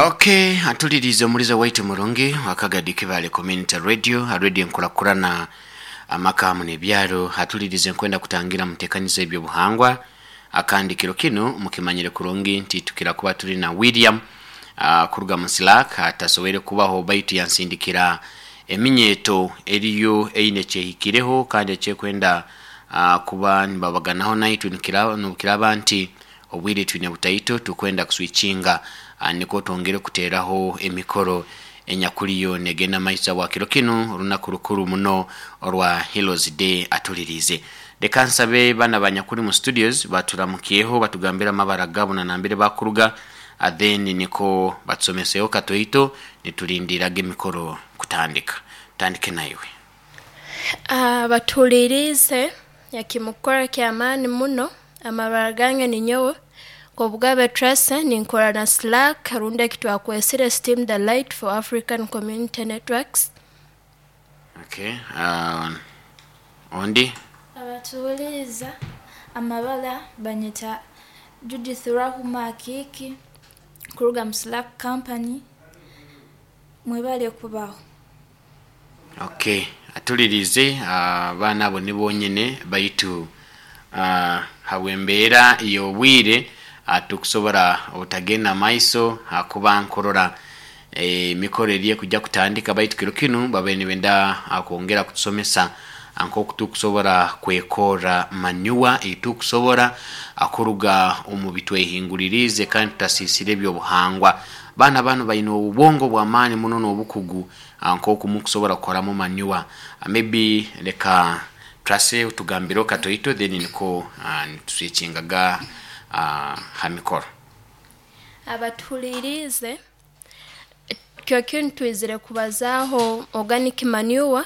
Okay, atulirize omulizo waitu murungi wakagadi Kibale Community Radio, radio enkurakurana amaka hamu n'ebyaro. Atulirize nkwenda kutangira mutekaniza ebyobuhangwa akandi kiro kinu mukimanyire kurungi nti tukira kuba tuli na William kuruga mu Slack atasobwere kubaho baitu yansindikira eminyeto eriyo eine kyehikireho kandi ekyekwenda kuba nibabaganaho naitwe nukiraba nti obwire twine butaito tukwenda kuswitchinga niko twongere kuteraho emikoro enyakuliyo negenda maisa wa kiro kinu olunaku rukuru muno orwa Heroes Day. Atulirize reka nsabe bana banyakuri mu studios baturamukiyeho batugambira amabara gabo na nambere bakuruga, then niko batusomeseho katoito nitulindiraga emikoro kutandika. Tandike naiwe. Batulirize yakimukora kyamaani muno. Amabara gange ninyowe Kobugabe Tracy, ninkora na Slack rundi ekitwakwesire Steam the Light for African Community Networks. Okay, ondi. Abatuuliza amabara banyeta Judith Rahuma Akiiki kuruga mu Slack Company, mwebale kubaho. Okay, atulirize abaana abo ni bonyene baitu habwembeera y'obwire tukusobora obutagenda maiso hakuba nkorora emikoro eri ekujja kutandika baitu kiro kinu babaire nibenda kwongera kutusomesa nk'oku tukusobora kwekora manyuwa eitukusobora kuruga omu bitwehinguririze kandi tutasisire ebyobuhangwa. Baana bano baine obubongo bw'amaani muno n'obukugu nk'oku mukusobora kukoramu manyuwa. Maybe leka Tracy utugambire katoito then niko nituswitchingaga ha mikoro. Abatuhulirize kyo kinu twizire kubazaaho organic manure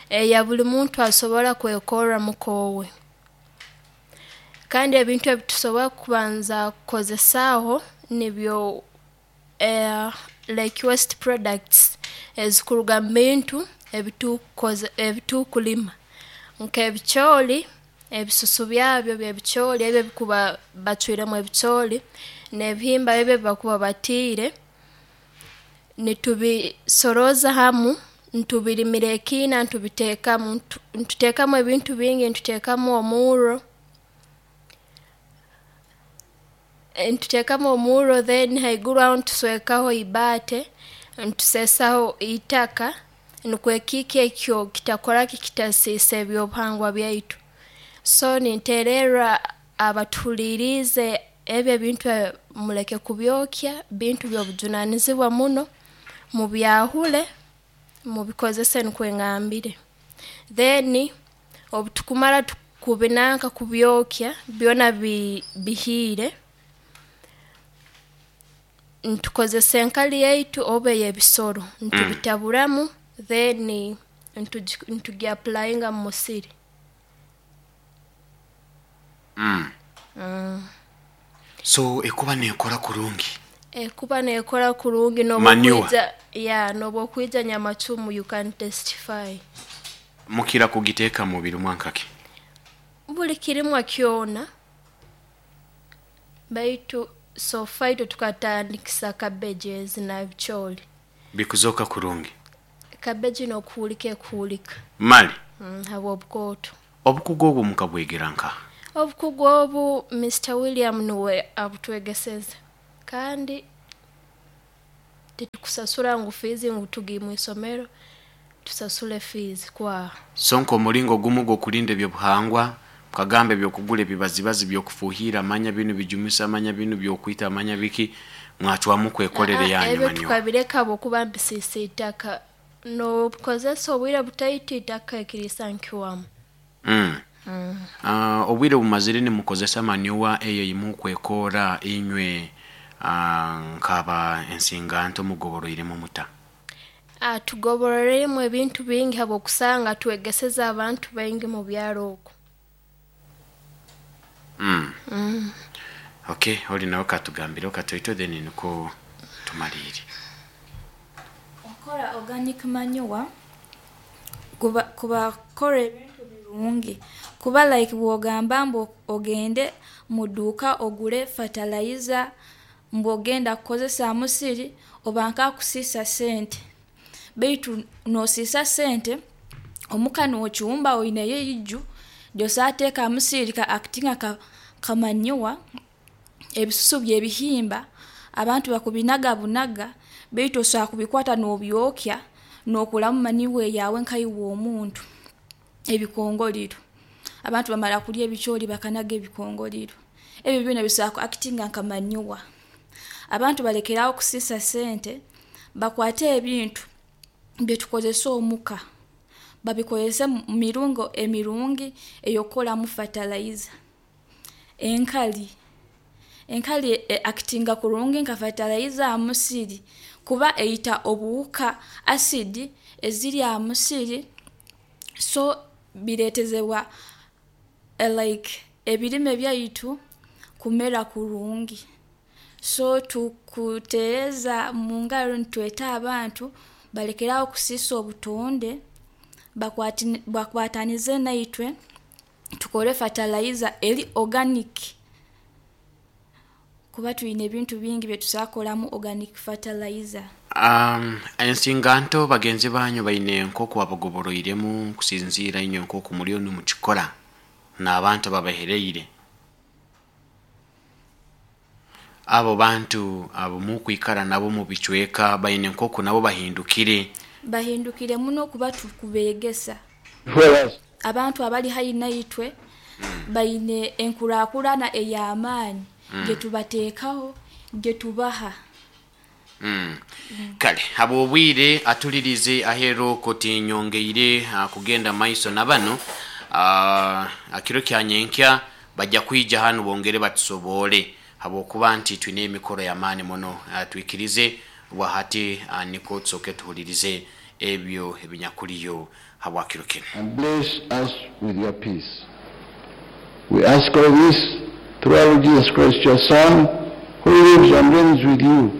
eya buli muntu asobora kwekorra mukoowe. Kandi ebintu ebitusobora kubanza kukozesaaho nibyo like waste products ezikuruga mu bintu ebitukulima nk'ebicooli, ebisusu byabyo by'ebicooli ebi ebikuba bacwiremu ebicooli n'ebihimba ebi ebibakuba batiire, nitubisorooza hamu nitubirimira ekiina ntubiteekamu, ntuteekamu ebintu bingi, ntuteekamu omurro, then haiguru aho ntuswekaho ibaate, ntuseesaho itaka nukwo ekiika ekyo kitakora ki, kitasiisa ebyobuhangwa byaitu. So ninteererra abatuhuliiriize ebi ebintu muleke kubyokya, bintu by'obujunaanizibwa muno, mubyahule, mubikozese nukwe ngambire. Then obu tukumara kubinanka kubyokya byona bihiire, ntukozesa enkali yaitu oba ey'ebisoro ntubitaburamu then ntugi applyinga mu musiri. So ekuba nekora kurungi. Ekuba nekora kurungi. Manure. N'obukwija ya n'obwokwija Nyamacumu you can testify. Mukira kugiteeka mu birumwa nkaki? Buli kirimwa kyona baitu so far itwe tukatandikisa cabbage ezi na bicooli. Bikuzoka kurungi. Cabbage n'okuhuulika ekuhuulika. Mali. Habw'obukooto. Obukugu obwo mukabwegera nka? Obukugu obu Mr. William nuwe abutwegeseze kandi titukusasura ngu fees ngu tugiye mu isomero tusasule fees kwaha. So nk'omulingo gumu gw'okulinda ebyobuhangwa mukagamba ebyokugura ebibazibazi by'okufuuhira amanya binu bijumisa amanya binu byokwita amanya biki mwacwamu kwekorera yanyu Ebyo manure. tukabireka habwokuba mbisiisa itaka, n'obukozesa obwire butaito itaka ekiriisa nkiwamu. Obwire bumazire nimukozesa manyuwa eyo yimukwekora inywe nkaba ensinganto mugoboroiremu muta? Tugoboroiremu ebintu bingi habwokusanga twegeseze abantu baingi mu byaro oku. Okay, oli nawe katugambireho katoito then niko tumaliire. Okora organic manure kuba kukora ebintu birungi kuba like bw'ogamba mbu ogende mu dduuka ogule fertilizer. Mbu ogenda kukozesa musiri oba nkakusiisa sente, baitu noosiisa sente omuka noocumba oineyo eiju ry'oso ateeka ha musiri ka actinga nka manure, ebisusu by'ebihimba abantu bakubinaga bunaga baitu osobola kubikwata nobyokya nokoramu manure eyaawe nkaiwe omuntu. Ebikongoriro, abantu bamara kurya ebicoori bakanaga ebikongoriro, ebi byoona bisobola ku actinga nka manure. Abantu balekere aho kusiisa sente, bakwate ebintu bitukozesa omuka babikozese mumiringo emirungi ey'okukoramu fertilizer. Enkari, enkari e actinga kurungi nka fertilizer hamusiri kuba eyita obuhuka, acid eziri hamusiri, so bireetezebwa like ebirime byaitu kumera kurungi. So tukuteereza mungaro nitweeta abantu balekere aho kusiisa obutonde, bakwatanize naitwe tukore fertilizer eri organic kuba twiine ebintu bingi ebitusobola kukoramu organic fertilizer. Ensinganto bagenzi banyu baine nk'oku babagoboroiremu kusinziira inywe nk'oku muriyo nimukikora n'abantu ababahereire, abo bantu abo mukwikara nabo mu bicweka baine nk'oku nabo bahindukire? Bahindukire muno kuba tukubeegesa. Abantu abari haihi naitwe baine enkuraakurana ey'amaani gyetubateekaho, gyetubaha. Kale habw'obwire atulirize aheeru okwo tinyongeire kugenda maiso na banu, akiro kya nyenkya bajja kwija hanu bongere batusoboole habwokuba nti twine emikoro y'amaani muno. Twikirize bwahati nikwo tusooke tuhulirize ebyo ebinyakuliyo habwa kiro kinu. And bless us with your peace. We ask all this through our Lord Jesus Christ, your Son, who lives and reigns with you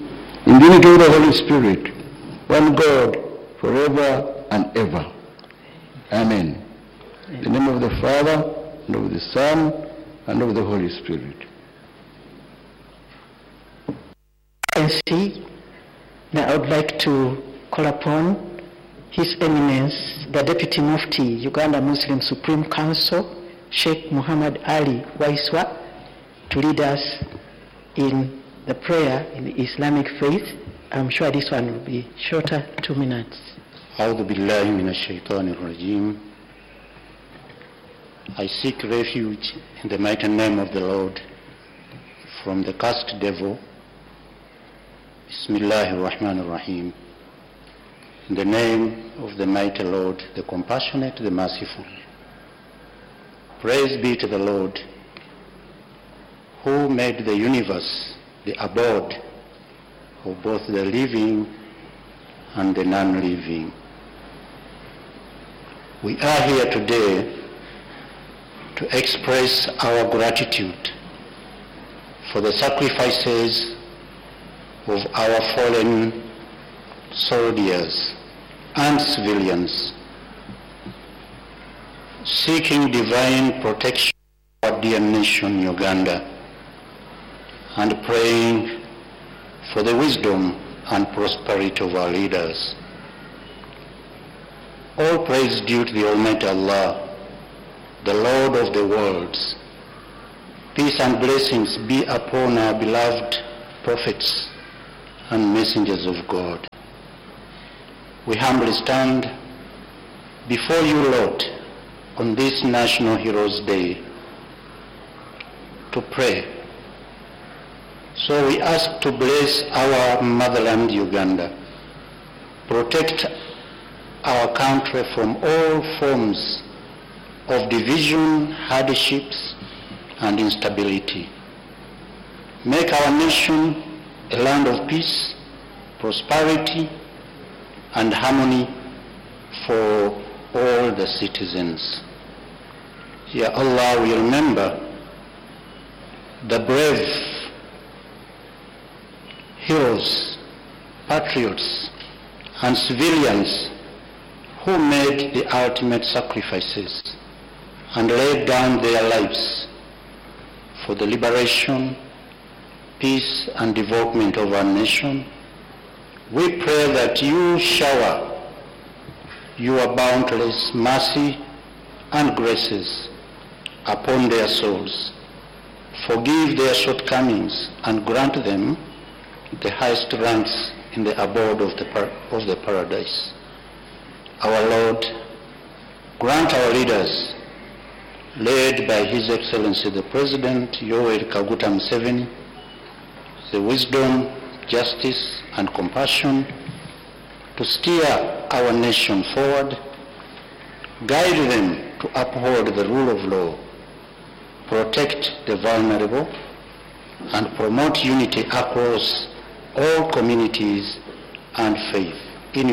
in the unity of the Holy Spirit, one God, forever and ever. Amen. In the name of the Father, and of the Son, and of the Holy Spirit. NC. Now I would like to call upon His Eminence, the Deputy Mufti, Uganda Muslim Supreme Council, Sheikh Muhammad Ali Waiswa, to lead us in the prayer in the Islamic faith. I'm sure this one will be shorter, 2 minutes. أعوذ بالله من الشيطان الرجيم. I seek refuge in the mighty name of the Lord from the cursed devil. Bismillah ar-Rahman ar-Rahim. In the name of the mighty Lord, the compassionate, the merciful. Praise be to the Lord, who made the universe the abode of both the living and the non-living. We are here today to express our gratitude for the sacrifices of our fallen soldiers and civilians, seeking divine protection for our dear nation, Uganda, and praying for the wisdom and prosperity of our leaders. All praise due to the Almighty Allah, the Lord of the worlds. Peace and blessings be upon our beloved prophets and messengers of God. We humbly stand before you, Lord, on this National Heroes Day to pray. So we ask to bless our motherland, Uganda, protect our country from all forms of division, hardships, and instability. Make our nation a land of peace, prosperity, and harmony for all the citizens. Ya Allah, we remember the brave heroes, patriots, and civilians who made the ultimate sacrifices and laid down their lives for the liberation peace, and development of our nation, we pray that you shower your boundless mercy and graces upon their souls. Forgive their shortcomings and grant them the highest ranks in the abode of the paradise. Our Lord, grant our leaders, led by His Excellency the President Yoweri Kaguta Museveni, the wisdom, justice, and compassion to steer our nation forward, guide them to uphold the rule of law, protect the vulnerable, and promote unity across all communities and faith.